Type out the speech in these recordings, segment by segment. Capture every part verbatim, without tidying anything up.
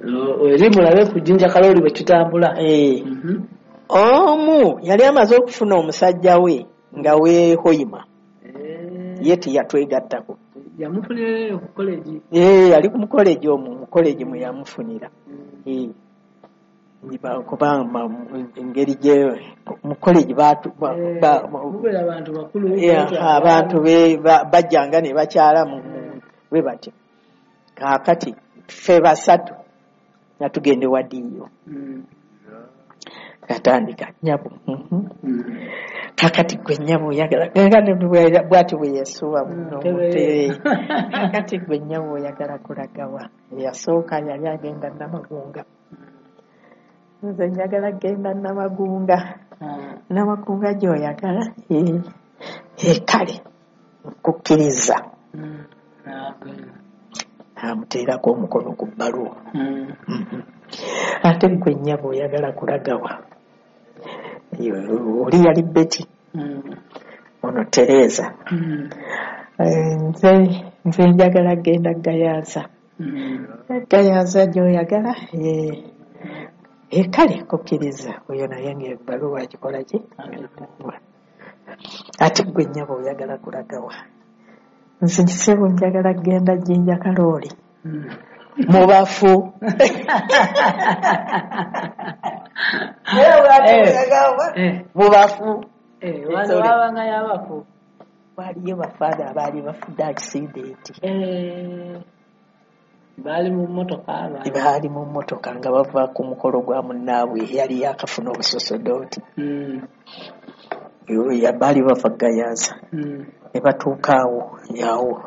Eri mulabe ku Jjinja Kalooli bwe kitambula. Eh. Mhm. Omu yali amaze okufuna omusajja we nga weehoyima, Eh. ye teyatwegattako. Yamufunira eyo ku college. Eh, yali ku mukoleji omwo, mu college mwe yamufunira. Eh. Ba- kubanga engeri gye mu college baatu ba- Eh, ba- mubeera abantu bakulu. Yeah, abantu be ba- bajjanga ne bakyala mu mu- bwe batyo. Kaakati ffe basatu nga tugenda ewa D E O. Mm. Katandika, "Nnyabo, mhm. Mm. Kaakati gwe nnyabo oyagala," bw'atyo bwe yeesuba muno. Mm, mute. "Kaakati gwe nnyabo oyagala kulagawa?" Eyasooka yali agenda Namagunga. "Nze njagala genda Namagunga." Ah. "Namagunga gy'oyagala? Eh, eh, kale nkukkiriza." Mm. N'agenda. Amuteerako omukono ku bbaluwa. Mm. Mhm. "Ate gwe nnyabo oyagala kulagawa?" Oli yali Betty, Mm. ono Tereza. Mm. "Eh, nze nze njagala genda Gayaza." Mm. "Gayaza gy'oyagala? Eh, eh, kale kukkiriza." Oyo naye ng'ebbaluwa agikola ki? "Ate gwe nnyabo oyagala kulagawa?" "Nze kisebo njagala genda Jjinja Kalooli." Mm. Mubafu. Eh. Mubafu. Eh, wano Sorry. waabanga y'abafu. Waliyo bafaada abaali bafudde accident. Eh, baali mu mmotoka abaali. Baali mu mmotoka nga bava ku mukolo gwa munnaabwe eyali yakafuna obusosodooti. Mm. Baali bava Gayaza. Mm. Ne batuuka awo awo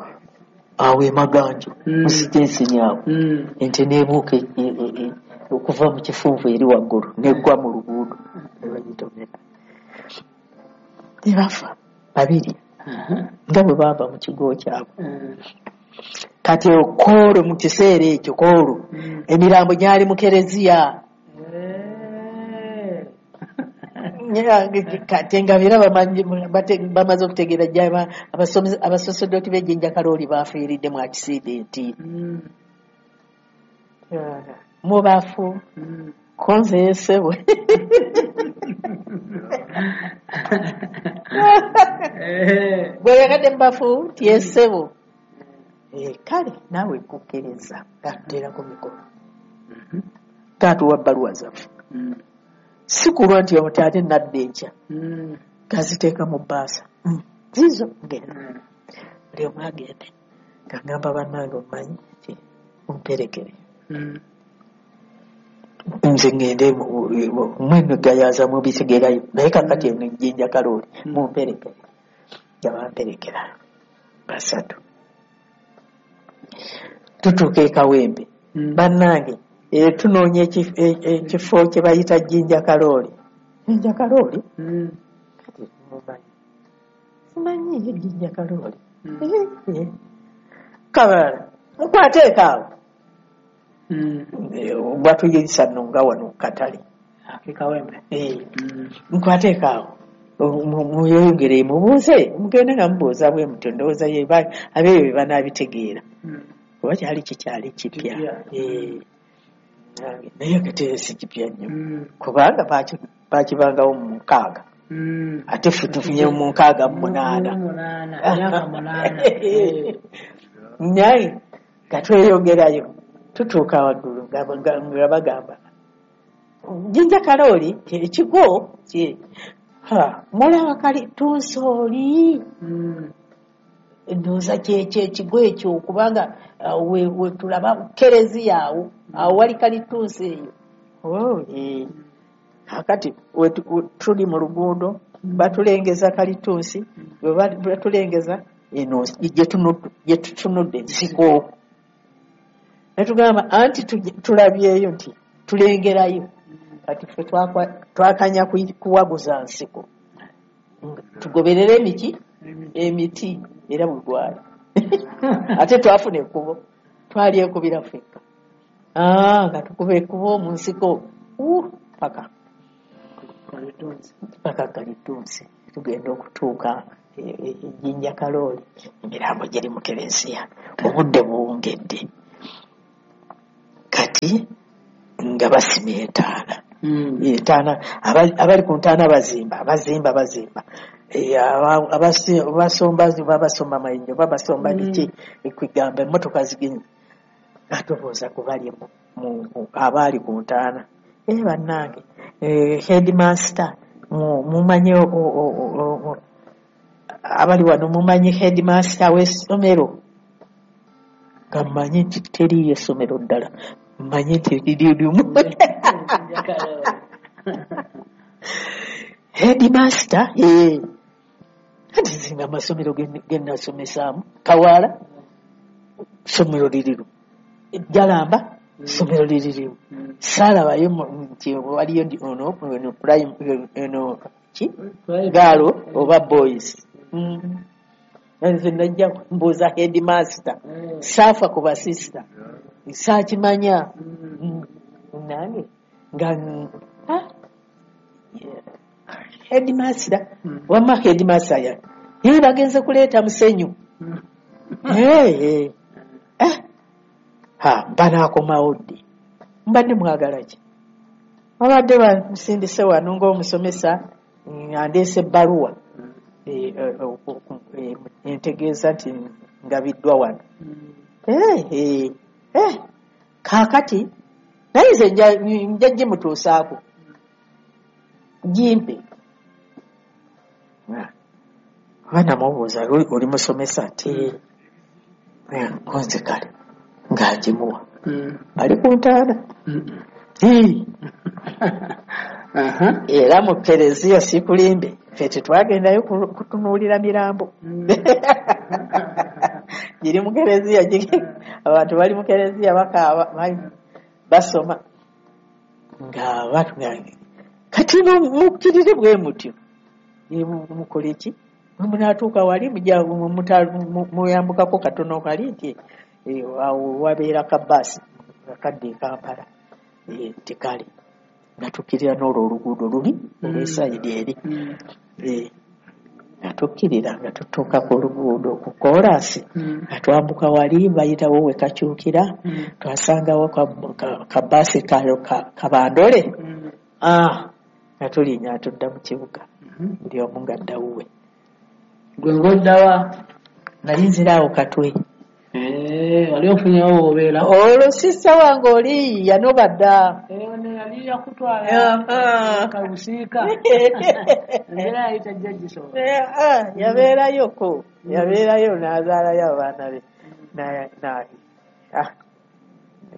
awo emaganjo, Mm. musitensi awo, Mm. ente n'ebuuka e- e- e- okuva mu kifunvu eri waggulu n'eggwa mu luguudo ne bagitomera ne bafa babiri Aha. nga bwe baava mu kigo kyabwe. Mm. Kati koolo mu kiseera ekyo koolo Mm. emirambo gyali mu kereziya. Eh. Kati nga era bamanyi- bate- bamaze okutegeera gyaba abasosodoti b'ejjinja Kalooli bafiiridde mu accident. Mm. Mubafu. Mm. Konze yesebwe. Eh. "Bweyagadde mubafu?" Nti, "Yesebo." Eh, kale naawe kukkiriza." Gatuteerako mikono, Mhm. gatuwa bbaluwa zaffe. Mm. Si kulwa nti omuti ate nadda enkya, Mm. gaziteeka mu bbaasa. Mm, ziizo genda. Mm. Buli omu agende. Gagamba, "Bannange, omumanyi ki, mumperekere." Mm. "Nze ngende mweno Gayaza mubisigerayo, naye kakati eno Ejjinja Kalooli Mm. mumperekere." Nga bamperekera basatu. Tutuuka e Kawempe. Mm. "Bannange, eh, tunoonya ekif- e- ekifo kye bayita Jjinja Kalooli." "Jjinja Kalooli?" Mm. "Kati mumanyi, simanyiyo Jjinja Kalooli." Mm. "Eh, eh. Kabalala mukwateeko awo." Mm. Eh, batuyisa nno nga wano ku katale. Ake Kawempe. Eh, Mm. "Mukwateeko awo. Mu- muyongere mubuuze, mugende nga mubuuza bwe mutyo, ndowooza ye ba- abeeyo be banaabitegeera." Mm. Kuba kyali kikyali kipya. Kipya. Eh, naye kati si kipya nnyo, Mm. kubanga baki- bakibangawo mu mukaaga, Mm. ate ffe tufunye mu nkaaga mu munaana. Mu munaana, myaka munaana. Eh. Naye nga tweyongerayo, tutuuka waggulu nga nga- nga bagamba Jjinja Kalooli ekigo ki- ha, "Mulaba kalitunsi oli?" Mm. "Ndowooza kyekyo ekigo ekyo, kubanga uh, we, we tulaba kereziya awo awo wali kalitunsi eyo." Oh, eh. Kakati we tu- we tuli mu luguudo, batulengeza kalitunsi, bwe ba- batulengeza eno gye tunu- gye tutunudde ensiko, netugamba anti tuje- tulabyeyo nti tulengerayo. Kati ffe twakwa- twakanya kuyi- kuwaguza nsiko. Nga tugoberere emiki emiti era bwe gwali, ate twafuna ekkubo, twali ekubira ffekka. Ah, nga tukuba ekkubo mu nsiko Uh, paka Kalitunsi. Paka kalitunsi. Tugenda okutuuka e- e- ejjinja Kalooli, emirambo giri mu kereziya, obudde buwungedde. Kati Nga basima entaana. Mm. Entaana, abali, abali ku ntaana bazimba, bazimba, bazimba. E, aba- abasi- abasomba babasomba mayinja, babasomba Mm. biki, kwegamba emmotoka zigenda. Atubuuza ku bali mu, mu, mu, abaali ku ntaana. Eh, bannange, eh, headmaster, mu, mumanyi o, o, o, o, o, abali wano mumanyi headmaster w'essomero? Nga mmanyi nti teriiyo essomero ddala, mmanyi nti liri limu. Headmaster, eh. Anti nze amasomero ge ge nasomesaamu, Kawaala, ssomero liri limu. Jalamba, ssomero liri limu. Mm. Saalabayo mu- nti waliyo ndi ono, ono prime, eno ki? Private. Gaalo oba boys. Mm. Nze najja mbuuza headmaster. Eh. Saafa ku basista. Saakimanya. Mm. Mm. Nange nga ah, yeah. Headmaster. Mm. Wamma headmaster ya. Ye bagenze kuleeta musenyu. Mm. Hey, hey. Eh. Ha, banaakomawo ddi? Mbadde mwagala ki? Babadde bamusindise wano ng'omusomesa, mm, andeese ebbaluwa. Eh, eh, eh, entegeeza nti ngabiddwa wano. Mm. Eh, eh, eh, kaakati naye nze nja nja gimutuusaako gimpe. Ah, oba namubuuza, oli oli musomesa? Ti eh, nze kale ng'agimuwa. Mm. Ali ku ntaana. Mm. Eh, Aha. era mu kereziya sikulimbe, ffe tetwagendayo ku- kutunuulira mirambo. Mm. Giri mu kereziya, giri- abantu bali mu kereziya bakaaba, bali- basoma nga batu- kati no mukkirire bwe mutyo. Eh, mu- mukole ki? Bwe munaatuuka wali mujja mu- muta- mu- muyambukako katono kali nti eh, awo wabeera ka baasi akadda e Kampala. Eh, nti kale nga tukkirira n'olwo oluguudo luli olw'esayidi eri. Mm. Eh, nga tukkirira nga tutuuka ku luguudo ku koolaasi, Mm. nga twambuka wali bayitawo we kakyukira, Mm. twasangawo ka- ka- kabaasi ka, ka, kabandole. Mm. Ah, nga tulinnya tudda mu kibuga, Mhm. buli omu ng'adda wuwe. Gwe ng'oddawa? Nali nziraawo Katwe. Eh, wali ofunyewo w'obeera? Olwo sisita wange oli yanoba dda. Eh, ono yali yakutwala Aha. kabusiika. Embeera yali tajja gisobola. Eh, ah, yabeerayoko, yabeerayo n'azaalayo abaana be. Na- na- ah,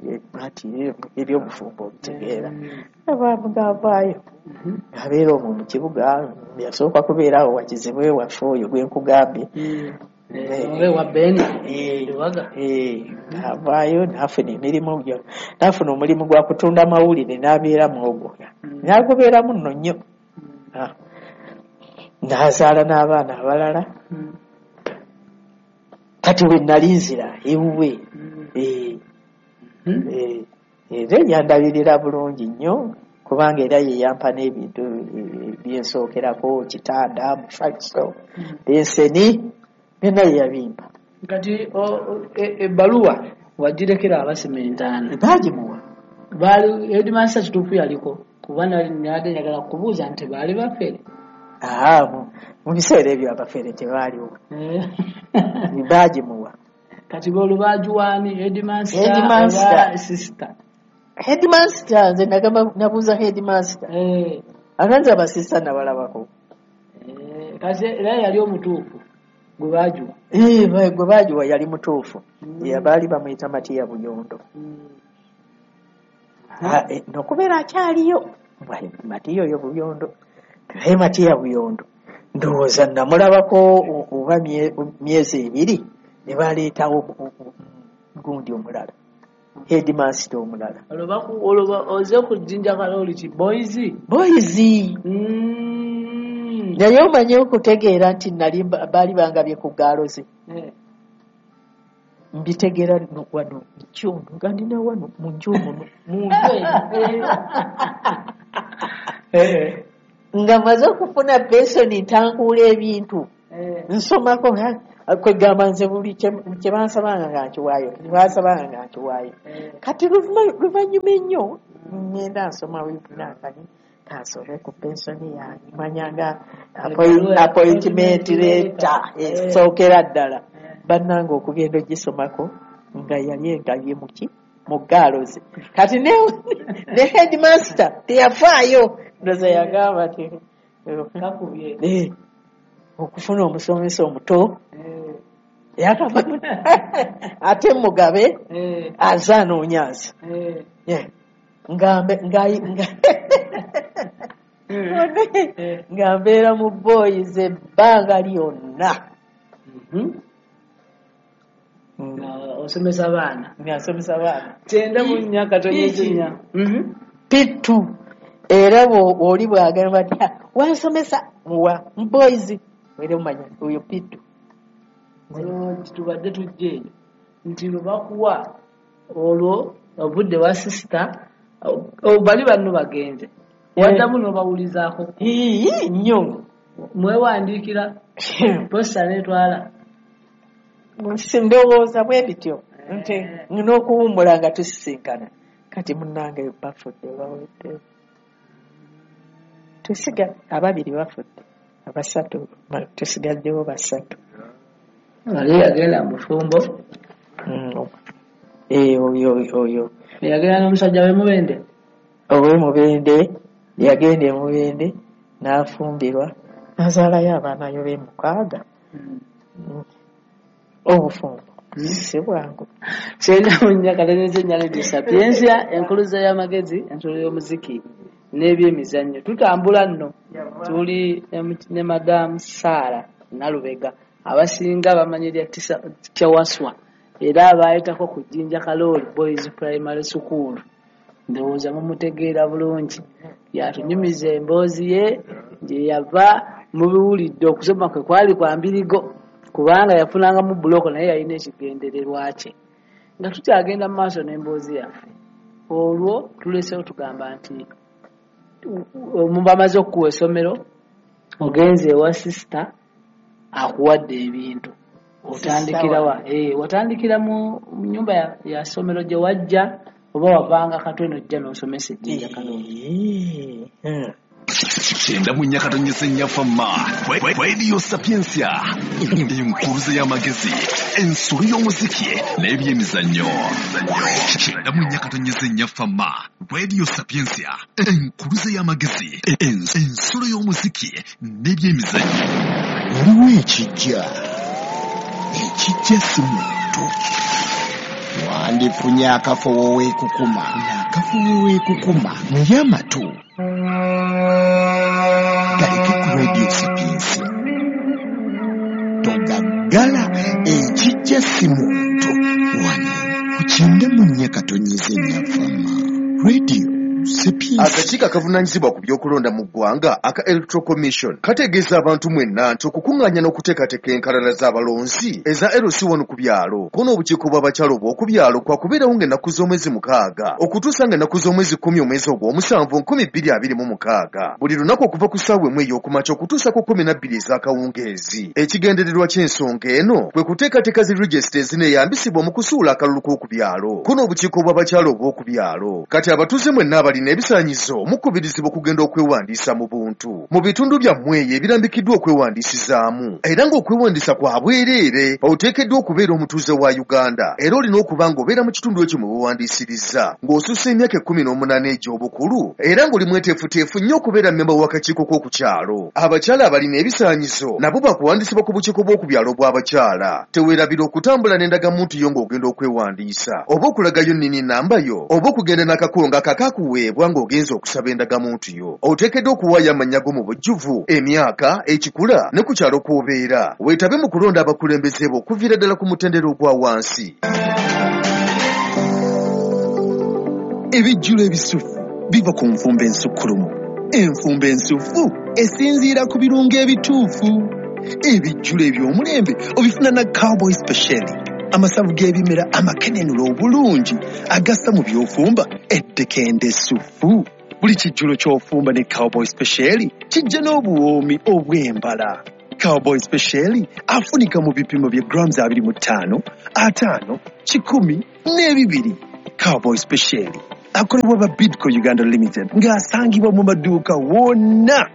eh, ati ebyobufumbo obitegeera. Mm. Abantu ng'avaayo. Mhm. Abeera omwo mu kibuga, yasooka kubeera awo Wakizibwe waffe oyo gwe nkugambye. Mm. Eh, Oba ewa Ben Eh, Lubaga. eh, n'avaayo n'afuna emirimu gyo, n'afuna omulimu gwa kutunda mawulire n'abeera mu ogwo. Mm. N'agubeeramu nno nnyo. Mm. Ah. N'azaala n'abaana abalala. Mm. Kati we nali nzira ewuwe. Mm. Eh, Mhm. eh, era yandabirira bulungi nnyo kubanga era ye yampa n'ebintu eh, byensookerako, kitanda, mufaliso, Mm. benseni, byonna ye yabimpa. Kati o- o- e- ebbaluwa wagirekera abasima entaana. Baagimuwa. Baali headmaster kituufu yaliko, kuba nali nabadde njagala kubuuza nti baali bafere. Aa, mu, mu biseera ebyo abafere tebaaliwo. Eh. Baagimuwa. Kati olwo baagiwaani, headmaster Headmaster. oba sister? Headmaster, nze nagamba nabuuza headmaster. Eh, Aganze abasista nabalabako. eh, kati era yali omutuufu gwe baagiwa. Eh, ba- gwe baagiwa yali mutuufu. Mm. Ya baali bamuyita Matiya Buyondo. Mm. Ah, eh, n'okubeera akyaliyo. Bwa- Matiya oyo Buyondo. Naye Matiya Buyondo ndowooza namulabako o- oba mye- myezi ebiri ne baleetawo o- o- gundi omulala, headmaster omulala. Olwo baku- olwo ba- oze ku Jjinja Kalooli ki boys? Boys. Mm. Naye omanye okutegeera nti nali mba- baali bangabye ku gaalo ze. Eh. Mbitegeera no wano kyono nga ndina wano mu nju muno mu nju eno. Eh. Nga maze okufuna pensoni ntankuula ebintu. Eh. Nsomako nga kwegamba nze buli kye- kye bansabanga nga nkiwaayo, kye bansabanga nga nkiwaayo. Eh. Kati luvuma- luvannyuma ennyo Ngenda nsoma wipunakani kansome ku pensoni yange manyanga appointment letter esookera ddala. Bannange okugenda ogisomako nga yali engabye muki mu gaalozi. Kati ne, ne headmaster teyafaayo, ndoza yagamba ti kakubye eh, okufuna omusomesa omuto yakava ate mugabe aze anoonyaza nga nga mbeera mu boys ebbanga lyonna. Osomesa abaana. Nga nsomesa abaana. Kyenda mu nnya katonyeza nnya. P two era oli bw'agamba nti wansomesa muwa boys era omanya oyo P two. Tubadde tujja eyo nti lwe bakuwa olwo obudde wa sisita bali banno bagenze waddamu n'obawulizaako nnyo mwewandiikira posta n'etwala. Ndowooza bwe bityo nti n'okuwummula nga tusisinkana. Kati munnange bafudde bawedde, tusiga ababiri bafudde, abasatu tusigaddewo basatu. Ali yagenda mu bufumbo. Eh, oyo oyo yagenda n'omusajja we Mubende. Owe Mubende yagenda e Mubende n'afumbirwa n'azaalayo abaana yo be mukaaga. Obufumbo si bwangu. Kyenda mu nnya katonyeza ennya Radio Sapientia, enkuluza y'amagezi, ensolo y'omuziki n'ebyemizannyo. Tutambula nno tuli ne Madam Sarah Nalubega, abasinga bamanyi erya Kyawaswa era abaayitako ku Jjinja Kalooli Boys Primary School. Ndowooza mumutegeera bulungi, yatunyumiza emboozi ye gye yava mubiwulidde. Okusoma kwe kwali kwa mbirigo kubanga yafunangamu buloko naye yalina ekigendererwa kye. Nga tukyagenda mu maaso n'emboozi yaffe, olwo tulesewo tugamba nti bamaze okukuwa essomero, ogenze ewa sisita akuwadde ebintu, otandikirawa? Eh, watandikira mu nnyumba ya, ya ssomero gye wajja oba wavanga Katwe n'ojja n'osomesa Ejjinja Kalooli? Kyenda mu nnya katonyeza ennya Fama Radio Sapientia, enkuluze y'amagezi, ensolo y'omuziki n'ebyemizannyo. Kyenda mu nnya katonyeza ennya Fama Radio Sapientia, enkuluze y'amagezi, ensolo y'omuziki n'ebyemizannyo. Waliwo ekijja, ekijja si muntu. Wandifunye akafo weekukuma, n'akafo weekukuma y'amatu galeke ku Radio Sapientia. Togaggala, ekijja si muntu. Wano ku kyenda mu nnya katonyeza ennya Fama Radio Sapientia. Akakiiko akavunaanyizibwa ku by'okulonda mu ggwanga aka Electoral Commission kategeeza abantu mwenna nti okukuŋŋaanya n'okuteekateeka enkalala z'abalonzi eza L C one ku byalo ko n'obukiiko bw'abakyala obw'oku byalo kwakubeerawo ng'ennaku z'omwezi mukaaga okutuusa ng'ennaku z'omwezi kkumi omwezi ogw'omusanvu nkumi bbiri abiri mu mukaaga buli lunaku okuva ku ssaawa emu ey'okumakya okutuusa ku kkumi na bbiri ez'akawungeezi. Ekigendererwa ky'ensonga eno kwe kuteekateeka zi regisita ezineeyambisibwa mu kusuula akalulu k'oku byalo ko n'obukiiko bw'abakyala obw'oku byalo. Kati abatuuze mwenna abalina ebisaanyizo mukubirizibwa okugenda okwewandiisa mu buntu mu bitundu byammwe eyo ebirambikiddwa okwewandiisizaamu, era ng'okwewandiisa kwa bwereere. Oteekeddwa okubeera omutuuze wa Uganda era olina okuba ng'obeera mu kitundu ekyo mwe weewandiisiriza ng'osussa emyaka ekkumi n'omunaana egy'obukulu era ng'oli mweteefuteefu nnyo okubeera mmemba w'akakiiko k'oku kyalo. Abakyala abalina ebisaanyizo nabo bakuwandiisibwa ku bukiiko bw'oku byalo bw'abakyala. Teweerabira okutambula n'endagamuntu yo ng'ogenda okwewandiisa oba okulagayo nnini namba yo oba okugenda n'akakongo akakakuweebwa ng'ogenza okusaba endagamuntu yo. Oteekeddwa okuwaayo amannya go mu bujjuvu, emyaka, ekikula ne ku kyalo kw'obeera. Weetabe mu kulonda abakulembeze bo okuviira ddala ku mutendera ogwa wansi. Ebijjulo ebisufu biva ku nfumba ensukkulumu. Enfumba ensufu esinziira ku birungo ebituufu. Ebijjulo eby'omulembe obifuna na Cowboy Special, amasavu g'ebimera amakenenula obulungi agassa mu by'ofumba ettekende essufu. Buli kijjulo ky'ofumba ne Cowboy Special kijja n'obuwoomi obw'embala. Cowboy Special afunika mu bipimo bya grams abiri mu ttaano, ataano, kikumi n'ebibiri. Cowboy Special Akolebwa ba Bidco Uganda Limited ng'asangibwa mu maduuka wonna.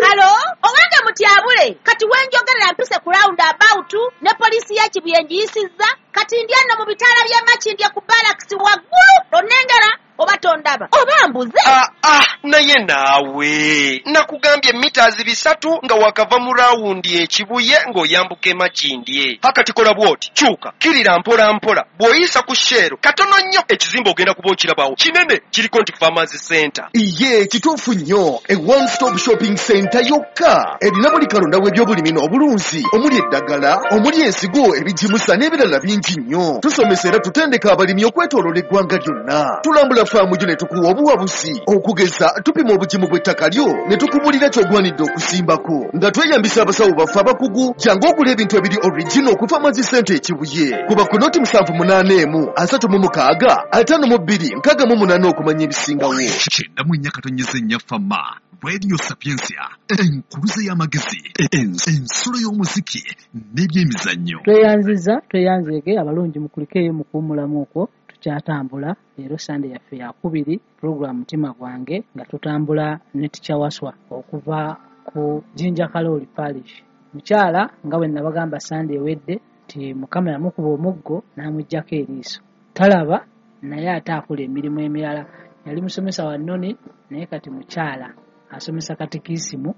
Halo, owange mutyabule, kati wenjogerera mpise ku round about ne poliisi ya Kibuye ngiyisizza, kati ndi eno mu bitaala by'e Makindye ku barracks waggulu, onnengera oba tondaba oba mbuze. Ah, ah, naye naawe nakugambye mitazi bisatu nga wakava mu rawundi ekibuye ng'oyambuka e Makindye. Hakati kola bw'oti, kyuka kirira mpola mpola, bw'oyisa ku Shell katono nnyo ekizimbe ogenda kuba okirabawo kinene, kiriko nti Farmers Center. Iye kituufu nnyo, e one stop shopping center yokka erina buli kalonda w'ebyobulimi n'obulunzi, omuli eddagala, omuli ensigo, ebigimusa n'ebirala bingi nnyo. Tusomesa era tutendeka abalimi okwetooloola eggwanga lyonna. Tulambula faamu gyo ne tukuwa obuwabuzi, okugeza tupima obugimu bw'ettaka lyo ne tukubulira ky'ogwanidde okusimbako nga tweyambisa abasawo baffe abakugu. Jangu ogula ebintu ebiri original ku Farmers Center e Kibuye. Kuba ku noti musanvu munaana emu asatu mu mukaaga ataano mu bbiri nkaaga mu munaana okumanya ebisingawo. Kyenda mu nnya katonyeze nnya Fama Radio Sapientia, enkuluze y'amagezi, ensulo y'omuziki n'ebyemizannyo. Tweyanziza, tweyanzeege abalungi mukulikeeyo mukuwummulamu okwo. Tukyatambula leero Sande yaffe yakubiri, program Mutima Gwange, nga tutambula ne Teacher Waswa okuva ku Jinja Kalooli Parish. Mukyala nga bwe nabagamba Sande ewedde nti Mukama yamukuba omuggo n'amuggyako eriiso, talaba naye ate akola emirimu emirala. Yali musomesa wa nnoni naye kati mukyala asomesa katikisimu,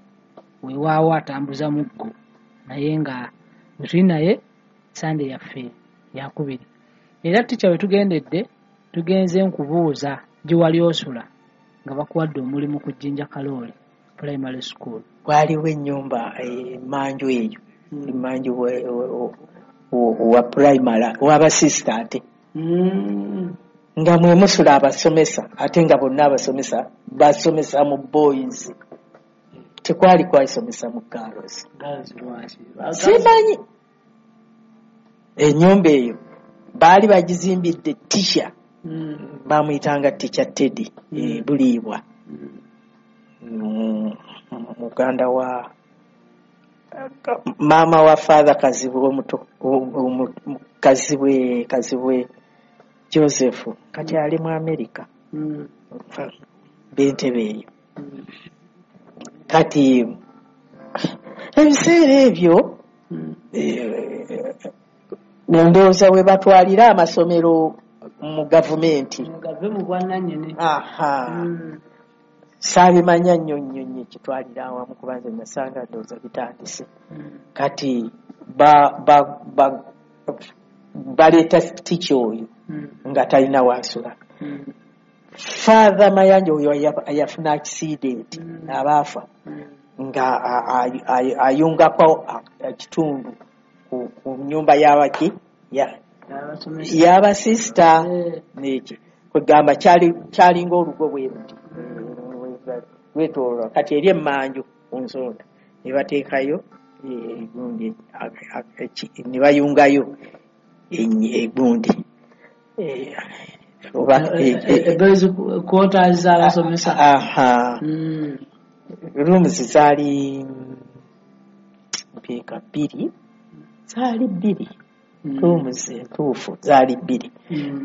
weewaawo atambuza muggo, naye nga bwe tuli naye Sande yaffe yakubiri. Era teacher we tugendedde tugenze nkubuuza gye wali osula nga bakuwadde omulimu ku Jinja Kalooli Primary School. Waaliwo ennyumba emmanju eyo, emmanju wa primary w'abasisita ate nga mwe musula abasomesa, ate nga bonna abasomesa basomesa mu boys, tekwali kwasomesa mu girls. Simanyi ennyumba eyo baali bagizimbidde teacher, bamuyitanga Teacher Teddy Buliibwa, muganda wa maama wa Father Kazibwe omuto, Kazibwe Kazibwe Joseph, kati ali mu America, b'entebe eyo. Kati ebiseera ebyo ndowooza we batwalira amasomero mu gavumenti, aha, saabimanya nnyo nnyo nnyo ekitwalira awamu, kuba nze nasanga ndowooza bitandise. Kati baleeta teacher oyo nga talina waasula. Father Mayanja oyo yafuna accident abaafa, nga ayungako ekitundu ku nnyumba y'abaki y'abasisita, neki kwegamba kyalinga olugo bwe luti lwetooloola. Kati eri emmanju ku nsonda ne bateekayo egundi, ne bayungayo egundi quarters z'abasomesa. Aha, rooms zaali mpeeka bbiri, zaali bbiri, rooms entuufu zaali bbiri,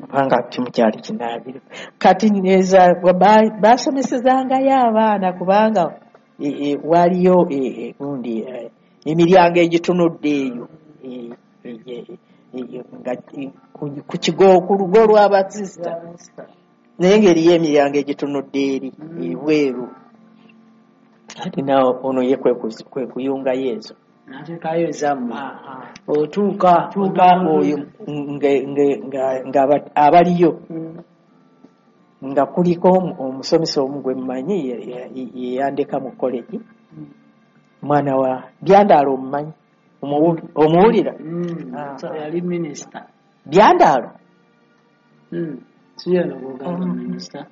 kubanga kimu kyali kinaabiro. Kati basomesezangayo abaana kubanga waliyo gundi emiryango egitunudde eyo ku kigo ku lugo lw'abasisita, naye ng'eriyo emiryango egitunudde eri ebweru. Kati nawe ono ye kwe kuyungayo ezo n'ateekayo ezammwe, otuuka tuuka oyo nga abaliyo nga kuliko omusomesa omu gwe mmanyi yeyandeka mu college, mwana wa Byandaalo, omumanyi omuwulira? Yali minisita Byandaalo, minisita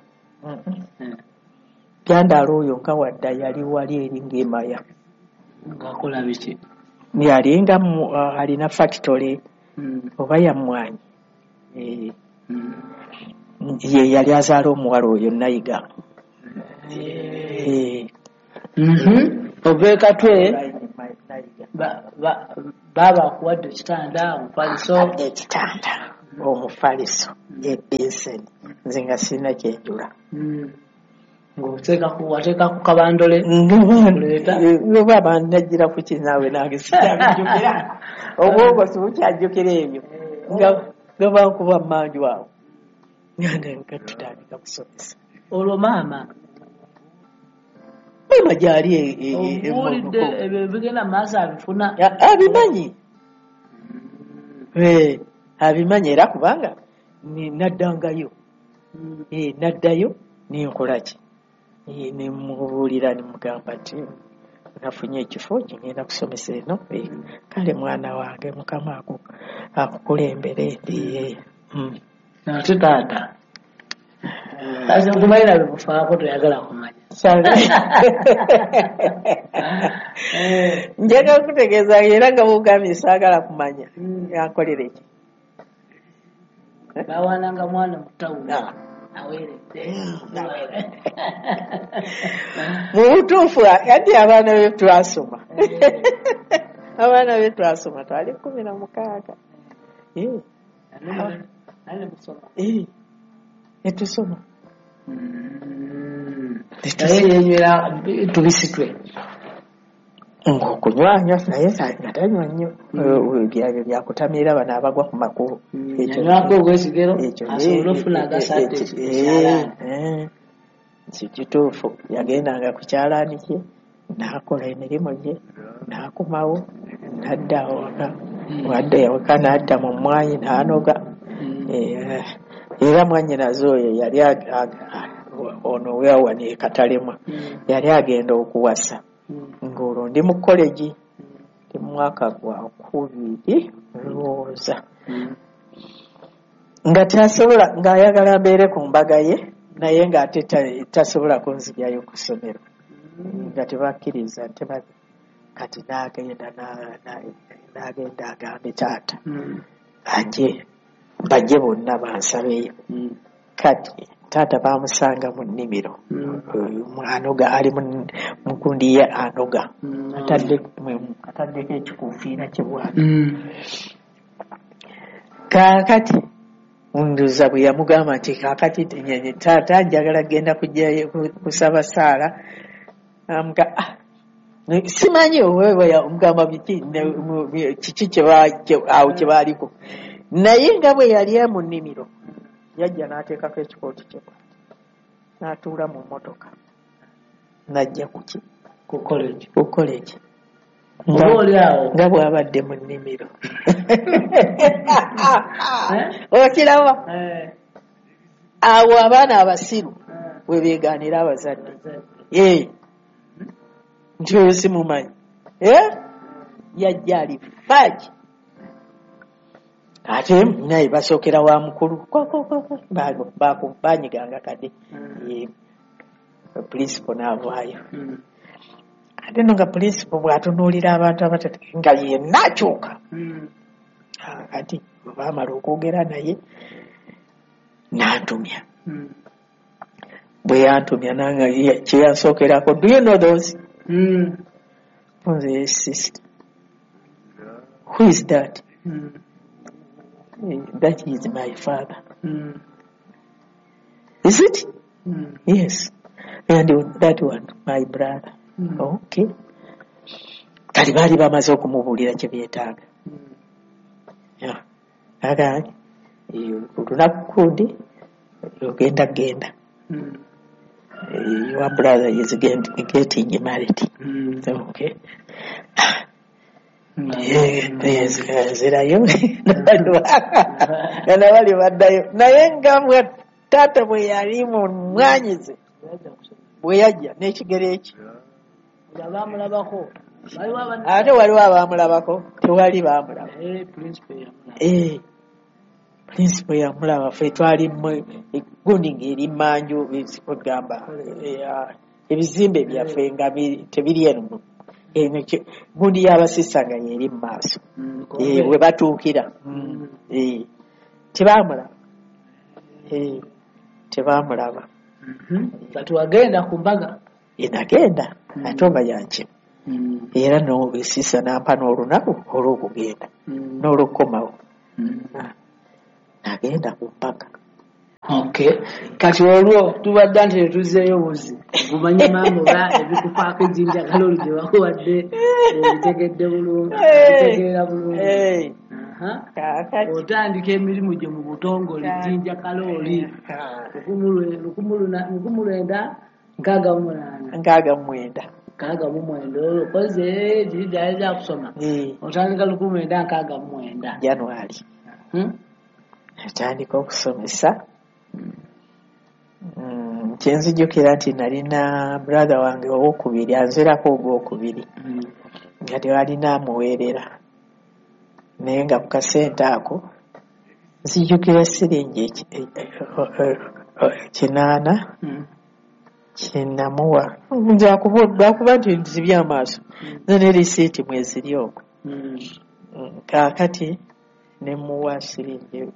Byandaalo oyo nga wadda yali wali eri ng'emaya ng'akola biki? Yali nga alina factory oba yammwanyi, ye yali azaala omuwala oyo Nayiga. Ova e Katwe baaba akuwadde ekitanda omufaliso, ekitanda omufaliso. Ebenseni nze nga sirina kyenjula. Ng'oteeka ku wateeka ku kabandole nga najjira ku kinaawe nange sikyabijjukira, obwongo sibukyajjukira ebyo, nga nga bankuba mmanju awo nga tutandika kusomesa. Olwo maama maama gyali obuulidde ebyo bigenda mu maaso abifuna? Abimanyi, abimanyi era kubanga naddangayo, naddayo nenkola ki, nemubuulira nemugamba nti nafunye ekifo kigenda kusomesa eno, kale mwana wange Mukama akukulembere. Ate taata nkumalira bikufaako toyagala kumanya. Njagala kutegeeza era nga bw'ogambye saagala kumanya, yankolera eki? Bawananga mwana mu tawuni aweeredde. Mu butuufu ati abaana be twasoma, abaana be twasoma twali kkumi na mukaaga netusoma naye yenywera tubisi twe ng'okunywanywa, naye nga tanywa nnyo byabyo byakutamiira bano abagwa ku makubo. Yanywako ogw'ekigero asobole okufuna agasadde. Kituufu, yagendanga ku kyalaani kye n'akola emirimu gye n'akomawo n'adda awaka, wadda ewaka n'adda mu mmwanyi n'anoga. Era mwannyinaze oyo yali ono weawano e Katalemwa yali agenda okuwasa, ng'olwo ndi mu college, ndi mu mwaka gwa kubiri ndowooza, nga tasobola, ng'ayagala mbeere ku mbaga ye naye ng'ate tasobola kunzigyayo ku ssomero, nga tebakkiriza. Kati n'agenda n'agenda agambe taata aje bajje bonna bansabeyo. Kati taata bamusanga mu nnimiro, anoga ali mu gundi ye anoga, ataddeko ekikuufiira kye bw'ati. Kaakati nduza bwe yamugamba nti kaakati taata njagala kugenda kujjayo kusaba Saala, amuga simanyi omugamba biki kiki awo kye baaliko, naye nga bwe yali mu nnimiro yajja n'ateekako ekikooti kye bw'ati n'atuula mu mmotoka n'ajja kuki ku college, ku college nga bw'abadde mu nnimiro. Okiraba awo abaana abasiru we beegaanira abazadde nti oyo simumanyi, yajja ali faaki. Ate naye basookera wa mukulu banyiganga kadde principal n'avaayo. Ate no nga principal bw'atunuulira abantu abatatu nga yenna akyuka. Kati bwe baamala okwogera naye n'antumya. Bwe yantumya nange kye yansookerako, do you know those? Nze sister, who is that? That is my father. Mm. Is it? Mm. Yes. And that one, my brother. Mm. Okay. Kati baali bamaze okumubuulira kye beetaaga. Mm. Aga olunaku kundi ogenda genda. Mm. Your brother is getting married. Mm. Okay. Nzirayo nga bali baddayo, naye nga bwe taata bwe yali mu mmwanyize bwe yajja n'ekigere ekyo ate waliwo abaamulabako, tewali baamulaba. Principal yamulaba, ffe twali gundi ng'eri mmanju, kugamba ebizimbe byaffe nga tebiri eno, gundi y'abasisa nga yeri mu maaso we batuukira. Tebaamulaba, tebaamulaba. Kati wagenda ku mbaga? Nagenda ate oba yankima, era sisa n'ampa n'olunaku olw'okugenda n'olw'okukomawo. Nagenda ku mbaga. Okay. Kati olwo tubadde nti tetuzzeeyo buzi gumanye maama oba ebikufaako ejjinja kalooli gye bakuwadde obitegedde bulungi, obitegeera bulungi. Kaakati Otandika emirimu gye mu butongole Jjinja Kalooli lukumi lwenda nkaaga mu munaana nkaaga mu mwenda nkaaga mu mwenda olwo koze giri gyali gyakusoma otandika lukumi lwenda nkaaga mu mwenda January atandika okusomesa. Mm, kyenzijukira nti nalina brother wange owokubiri anzirako ogwokubiri nga tewalina amuweerera, naye nga ku kasente ako nzijukira siringi kinaana kyenamuwa lwakuba nti nzibye amaaso nze ne risiiti mweziri okwo. Kaakati ne muwa siringi,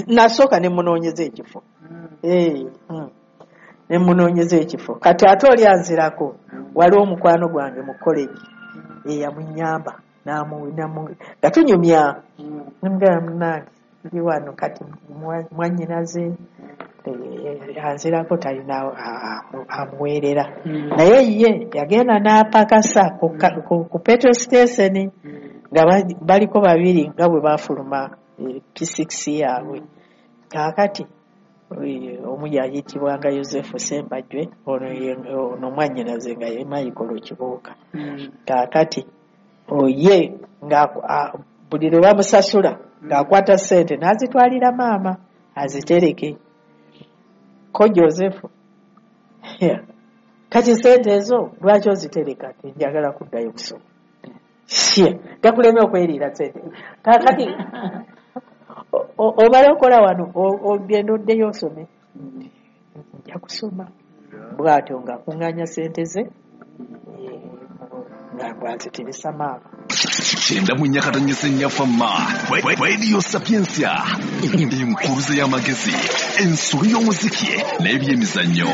nasooka ne munoonyeza ekifo ne munoonyeza ekifo. Kati ate oli anzirako waliwo omukwano gwange mu college eyamunyamba nga tunyumya nemugamba munnange ndi wano kati mwannyinaze anzirako talina amuweerera, naye ye yagenda n'apakasa ku petrol station nga baliko babiri nga bwe baafuluma P six yaabwe. Kaakati omu yayitibwanga Yosefu Sembajwe, ono mwannyinaze nga ye Michael Kibuuka. Kaakati oye nga buli lwe bamusasula ng'akwata ssente n'azitwalira maama azitereke. Ko Yosefu, kati ssente ezo lwaki ozitereka? Njagala kuddayo kusoma. Gakuleme okweriira ssente. Kaakati omala okola wano ogenda oddeyo osome. Nja kusoma. Bw'atyo ng'akuŋŋaanya ssente ze nga bw'azitirisa maama. Kyenda mu nnya katonyese nnya Fama Radio Sapientia, enkuluze y'amagezi, ensolo y'omuziki n'ebyemizannyo.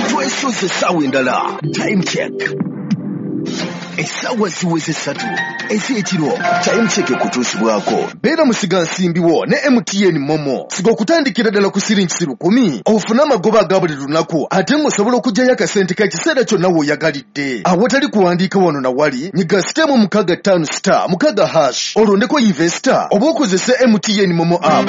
Twesoze essaawa endala. Time check. Essaawa ziweze ssatu ez'ekiro. Time check ekutuusibwako beera musigansimbi wo ne M T N Momo. Siga okutandikira ddala ku siringi lukumi ofune amagoba aga buli lunaku, ate ng'osobola okuggyayo akasente k'ekiseera kyonna w'oyagalidde awatali kuwandiika wano na wali. Nyiga sitemu mukaaga ttaano star mukaaga hash olondeko investor oba okozese M T N Momo app.